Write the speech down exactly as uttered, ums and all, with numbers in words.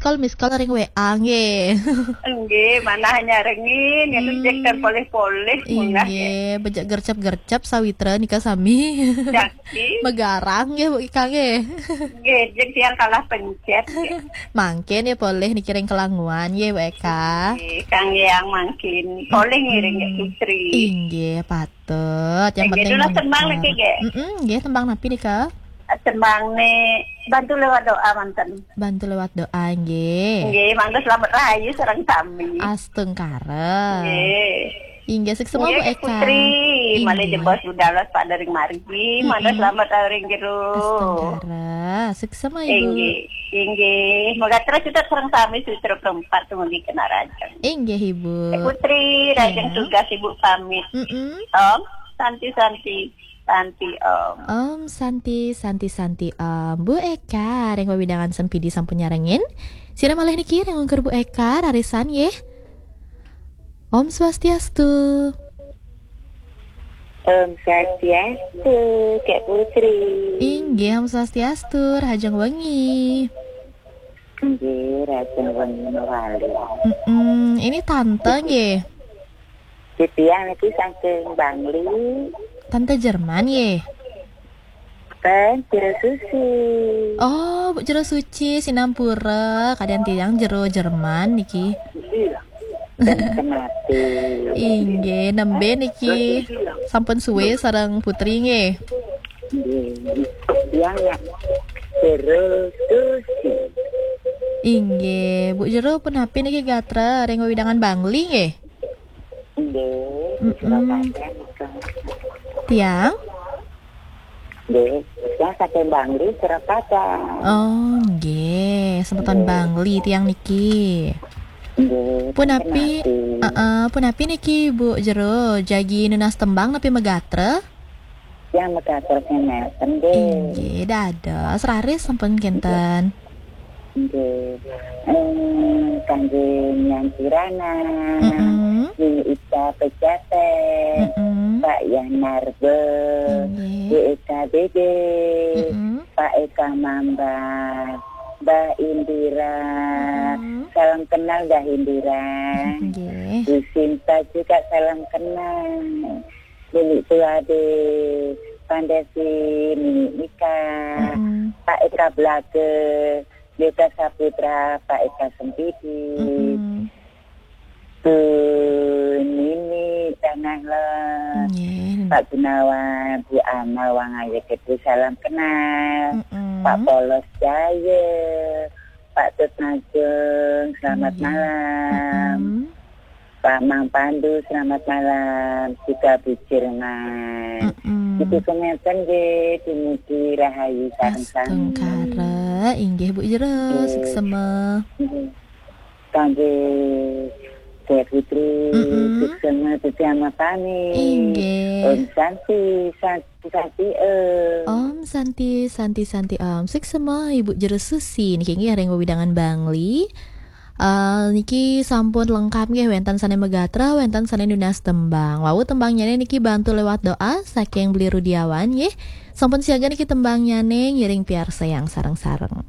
call, miss call ring W A nggih. Nggih, manah nyarengin, ya, lu cek polih-polih, munggah, nggih, bejak gercep-gercep sawitra nika sami. Jaki. Megarang nggih, Bu Eka nggih. Nggih, jek tiang kalah pencet, nggih. Mangkin ya polih niki ring kelanguan nggih, Bu Eka. Nggih, kang yang mangkin polih ngiring ya, Putri. Inggih, patut. Yang penting tembang niki, nggih. Mm-mm, nggih, tembang napi nika? Tembang ne Bantu Lewat Doa manten. Bantu Lewat Doa, nggih. Nggih, mangga selamat rahayu sareng sami. Astungkara. Nggih. Inggih, suksma, Bu Eka. Putri, malih jebos budal Pak dari margi, mangga selamat rahayu ring jero. Astungkara. Suksma, Ibu. Inggih, inggih. Moga terus kita sareng sami sutra perempat tumugi kena rajang. Inggih, Ibu. Putri, rajang tugas Ibu pamit. Mm-mm. Om Santi Santi. Santi, Om. Om Santi, Santi, Santi, Om. Bu Eka, ring wewidangan Sempidi sampun nyarengin. Sira malih niki ring ungkur Bu Eka, rarisan nggih. Om Swastiastu. Om Swastiastu, Kak Putri. Inggih, Om Swastiastu, rahajeng wengi. Nggih, rahajeng wengi mawali. Mm-mm, ini tante nggih. Titiang niki saking Bangli. Tante Jerman nggih. Ten, Jero Suci. Oh, Bu Jero Suci, sinampura, kadian tiang Jero Jerman niki. Kenate. Inggih, nembe niki sampun suwe sareng Putri nggih. Nggih. Tiang ya Jero Suci. Inggih, Bu Jero punapi niki gatra ring wewidangan Bangli nggih? Nggih, mm-mm. Tiang? Nggih, tiang saking Bangli, Surakarta. Oh, nggih, semeton Bangli tiang niki. Nggih, punapi, heeh, punapi niki Bu Jero, jagi nunas tembang napi magatra? Tiang magatra nenten, nggih. Inggih, dados raris sampun kinten. Nggih. Eh, kangge Nyan Kirana, mm-mm. Nini Ika Pejaten, mm-mm. Pak Yan Marbe, nggih. B Eka Dede, mm-mm. Pak Eka Mamba, Mbak Indira. Mm-mm. Salam kenal, Mbak Indira. Nggih. Bu Sinta juga salam kenal. Nini Tuade, Pandasi, Nini Ika, mm-mm. Pak Eka Blage, Yoga Saputra, Pak Eka Sempidi, mm-mm. Bu Nini Tanah Lot, nggih. Pak Gunawan, Bu Ana, Wang Aye Gede, salam kenal. Mm-mm. Pak Polos Jaya, Pak Tut Najeng, selamat malam. Mm-mm. Pak Mang Pandu, selamat malam. Juga Bu Jerman. Mm-mm. Itu kengeten nggih, dumugi rahayu sareng sami. Astungkara, inggih Bu Jero, nggih. Suksema. Nggih. Kangge Dek Putri, mm-mm. Suksema, Suksema pamit. Inggih. Om Santi, Santi, Santi, Om. Om Santi, Santi, Santi, Om. Suksema, Ibu Jero Susi. Niki nggih ring wewidangan Bangli. Eh, niki sampun lengkap nggih, wenten sane magatra, wenten sane nunas tembang. Wau tembangnyane niki Bantu Lewat Doa saking Beli Rudiawan nggih. Sampun siaga niki tembangnyane, ngiring piarsayang sareng-sareng.